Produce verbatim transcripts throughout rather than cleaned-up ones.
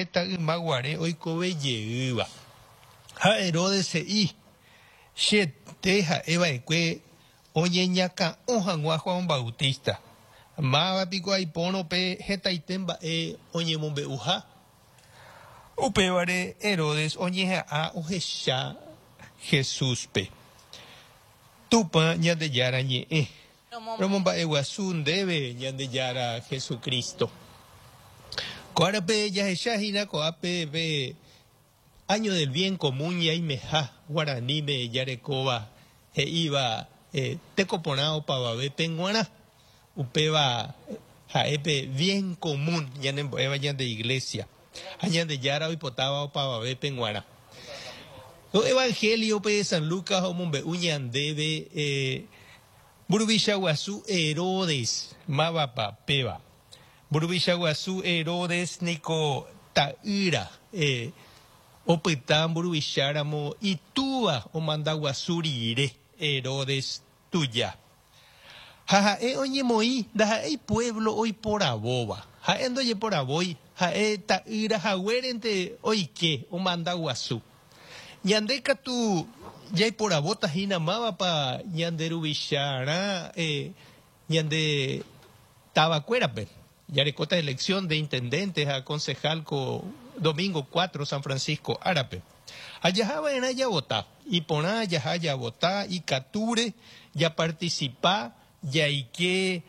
profeta ymaguare oikove jeýva. Ha Herodes he'i, chete ha'eva'ekue oñeñakã'o hag̃ua Juan Bautista. Máva piko aipórõ pe hetaite mba'e oñemombe'uha. Upévare Herodes oñeha'ã ohecha Jesúspe. Tupã Ñandejára ñe'ẽ. Romomba'eguasu ndéve Ñandejára Jesucristo. Ko árape jahechahína ko'ápe pe año del bien común ñaimeha guaraníme jarekóva he'íva eh, tekoporã opavavépe g̃uarã. Upéva ha'e bien común ñanembo'éva ñande iglesia. Ha Ñandejára oipotáva opavavépe g̃uarã. Ko evangelio pe San Lucas omombe'u ñandéve eh, mburuvicha guasu Herodes mávapa péva. Mburuvicha guasu Herodes niko ta'ýra eh, opyta mburuvicháramo itúva omanda guasu rire Herodes tuja. Ha ha'e oñemoĩ ndaha'éi pueblo oiporavóva. Ha'e ndojeporavói ha'e ta'ýra haguérente oike omanda guasu. Ñande katu jaiporavóta hína mávapa ñande ruvicharã eh, ñande tavakuérape. Jarekóta elección de intendente ha concejal ko domingo cuatro San Francisco árape. Ha jahava'erã javota. Iporã jaha javota ikatúre japarticipa jaike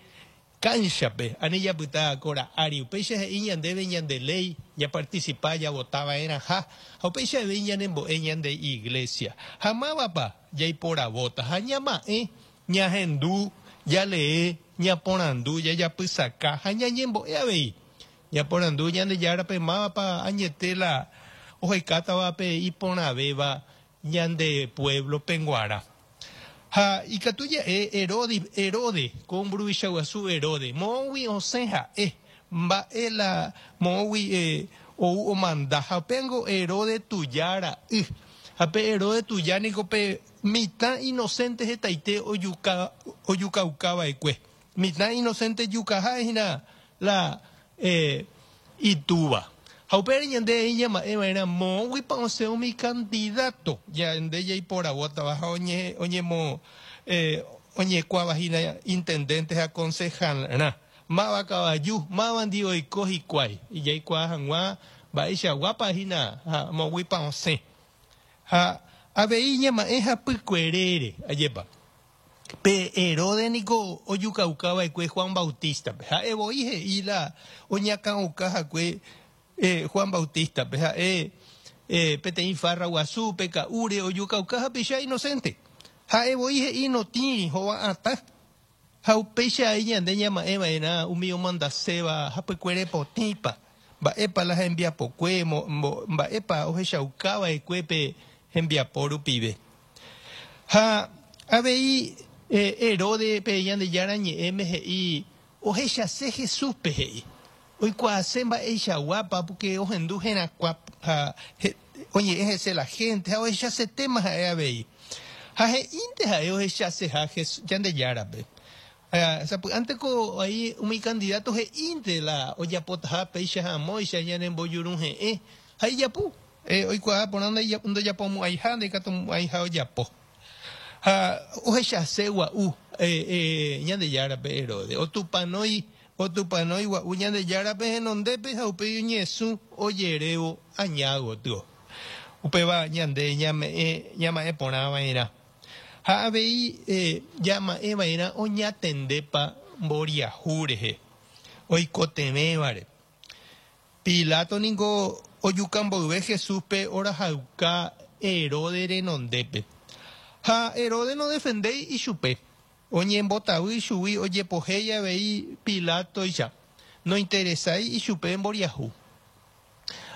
canchape ani japyta kora ári upéicha he'i ñandéve ñande ley japarticipa javotava'erãha ha upéicha avei ñanembo'e ñande iglesia. Ha mávapa jaiporavóta ha ñama'ẽ ñahendu jalee ñaporandu jajapysaka ha ñañembo'e avei. Ñaporandu Ñandejárape mávapa añete la ohekátavape iporãvéva ñande pueblo-pe g̃uarã. Ha ikatu ja'e Herode, Herode, ko mburuvicha guasu Herode, moõgui osẽ ha'e, mba'e la moõgui eh, ou omanda ha upéngo Herode tuja ra'y. Ha pe Herode tuja niko pe mitã inocente hetaite ojuka ojukaukava'ekue. Mitã inocente jukaha hína la eh, itúva. Ha upépe ñande ñama'ẽva'erã moõguipa osẽ umi candidato ñande jaiporavótava ha oñe oñemo eh, oñekuavahína intendente ha concejalrã. Máva kavaju, mávandi oiko hikuái. Jaikuaa hag̃ua mba'eichaguápa hína ha moõguipa osẽ. Ha avei ñama'ẽ hapykuerére, ajépa. Pe Herode niko ojukaukava'ekue Juan Bautistape. Ha'e voi he'i la oñakã'okahague eh, Juan Bautistape. Ha'e eh, peteĩ farra guasúpe ka'úre ojukauka hapicha inocente. Ha'e voi he'i notĩri hova'atã. Ha upéicha ai ñande ñama'ẽva'erã umi omandaséva hapykuere potĩpa. Mba'épa la hembiapokue, mba'épa ohechaukava'ekue pe hembiapo rupive. Ha avei eh, Herode pe Ñandejára ñe'ẽme he'i ohechase Jesúspe he'i. Oikuaase mba'eichaguápa porque ohendu herakuã ha oñe'ẽ hese la gente ha ohechasetéma ha'e avei. Ha he'ínte ha'e ohechaseha Ñandejárape. Sapy'ánte ko aí umi candidato he'ínte la ojapotaha péicha hamóicha ñanembojuruhe'ẽ ha ijapu. Eh, oikuaa porã ndojapomo'ãiha ndaikatumo'ãiha ojapo. Ha ohechase gua'u eh, eh, Ñandejárape Herode. Otupanói otupanói gua'u Ñandejárape henondépe ha upéi oñesũ ojerévo aña gotyo. Upéva ñande ñame'ẽ ñama'ẽ porãva'erã. Ha avei eh, ñama'ẽva'erã oñatendépa mboriahu rehe oikotevẽvare. Pilato niko ojuka mboyve Jesúspe orahauka Herode renondépe. Ha Herode no defendéi ichupe. Oñembotavy ichugui ojepohéi avei Pilatoicha. No interesái ichupe mboriahu.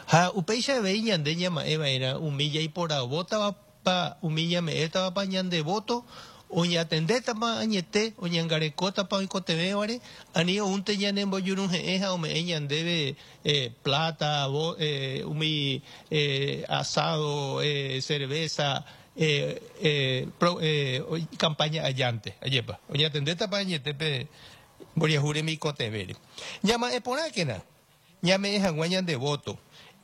Ha upéicha avei ñande ñama'ẽva'erã umi jaiporavótavapa umi ñame'ẽtavapa ñande voto oñatendétapa añete oñangarekótapa oikotevẽvare ani oúnte ñanembojuruhe'ẽ ha ome'ẽ ñandéve eh, plata, bo, eh, umi eh, asado, eh, cerveza, eh, eh, pro, eh, campaña allante, ajépa. Oñatendétapa añetépe mboriahu remikotevẽre. Ñama'ẽ porãkena ñame'ẽ hag̃ua ñande voto.